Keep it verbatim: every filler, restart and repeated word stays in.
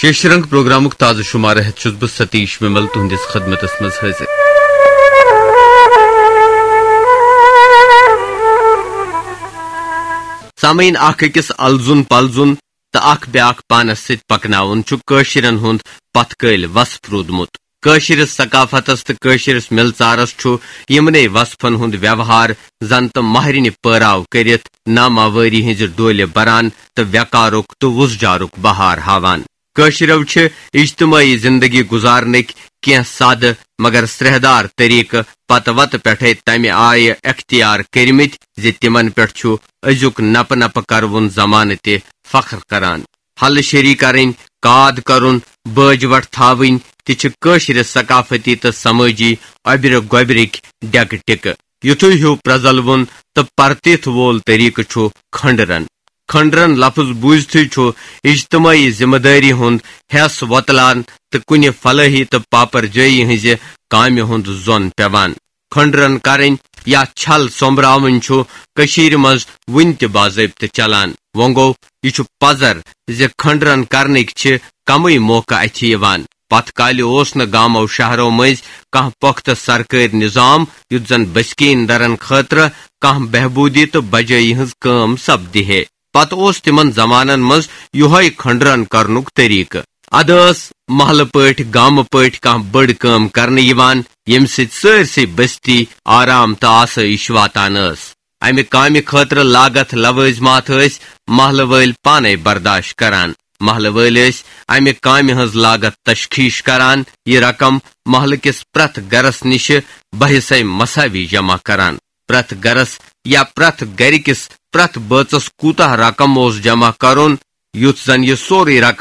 کیشرنگ پروگرامُک تازٕ شمارٕ ہٮ۪تھ چھُس بہٕ ستیش ومل تُہنٛدِس خدمتس منٛز حٲضِر۔ سامعیٖن، اکھ أکِس الزُن پلزُن تہٕ اکھ بیاکھ پانس سۭتۍ پکناوُن چھُ کٲشرٮ۪ن ہُنٛد پتھ کٲلۍ وصف روٗدمُت۔ کٲشرِس ثقافتس تہٕ کٲشرِس مِلژارس چھُ یِمنٕے وصفن ہُنٛد ویوہار زن تہٕ مہرِنہِ پٲراو کٔرِتھ ناماوٲری ہٕنٛزِ ڈولہِ بران تہٕ ویقارُک تہٕ وُزجارُک بہار ہاوان۔ کٲشرٮ۪و چھِ اجتمٲعی زندگی گُزارنٕکۍ کینٛہہ سادٕ مگر سرٛیہدار طریقہٕ پتہٕ وتہٕ پٮ۪ٹھے تمہِ آیہِ اختیار کٔرمٕتۍ زِ تِمن پٮ۪ٹھ چھُ أزیُک نپہٕ نپہٕ کروُن زمانہٕ تہِ فخر کران۔ حل شری کرٕنۍ، کاد کرُن، بٲج وٹھ تھاوٕنۍ تہِ چھِ کٲشرِ ثقافتی تہٕ سمٲجی اوٚبرِ گوٚبرِکۍ ڈیکہٕ ٹِکہٕ۔ یُتھُے ہیوٗ پرٛزلوُن تہٕ پرتِتھ وول طریقہٕ چھُ کھنڈرن۔ کھنڈرن لفظ بوٗزتھٕے چھُ اجتمٲعی ذمہٕ دٲری ہُنٛد حیس وۄتلان تہٕ کُنہِ فلٲحی تہٕ پاپر جٲیی ہٕنٛزِ کامہِ ہُنٛد زۄن پٮ۪وان۔ کھنڈرن کرٕنۍ یا چھل سوٚمبراوٕنۍ چھُ کٔشیٖرِ منٛز وُنہِ تہِ باضٲبطہٕ چلان۔ وۄنۍ گوٚو، یہِ چھُ پزر زِ کھنڈرن کرنٕکۍ چھِ کمٕے موقعہٕ اَتھِ یِوان۔ پتھ کالہِ اوس نہٕ گامو شہرو مٔنٛزۍ کانٛہہ پۄختہٕ سرکٲرۍ نظام یُتھ زن بسکیٖن درن خٲطرٕ کانٛہہ بہبوٗدی تہٕ بجٲیی ہٕنٛز کٲم سپدِ ہے۔ پتہٕ اوس تِمن زمانن منٛز یِہوٚے کھنڈرن کرنُک طریقہٕ۔ ادٕ ٲس محلہٕ پٲٹھۍ، گامہٕ پٲٹھۍ کانٛہہ بٔڑ کٲم کرنہٕ یِوان، ییٚمہِ سۭتۍ سٲرسٕے بستی آرام تہٕ آسٲیِش واتان ٲس۔ امہِ کامہِ خٲطرٕ لاگتھ لوٲزمات ٲسۍ محلہٕ وٲلۍ پانے برداشت کران۔ محلہٕ وٲلۍ ٲسۍ امہِ کامہِ ہٕنٛز لاگتھ تشخیش کران، یہِ رقم محلہٕ کِس پرٛٮ۪تھ گرس نِشہِ بحثے مساوی جمع کران۔ پرٛٮ۪تھ گرس یا پرٛٮ۪تھ گرِ کِس پرٛٮ۪تھ بٲژس کوٗتاہ رقم اوس جمع کرُن، یُتھ زن یہِ سورُے رقم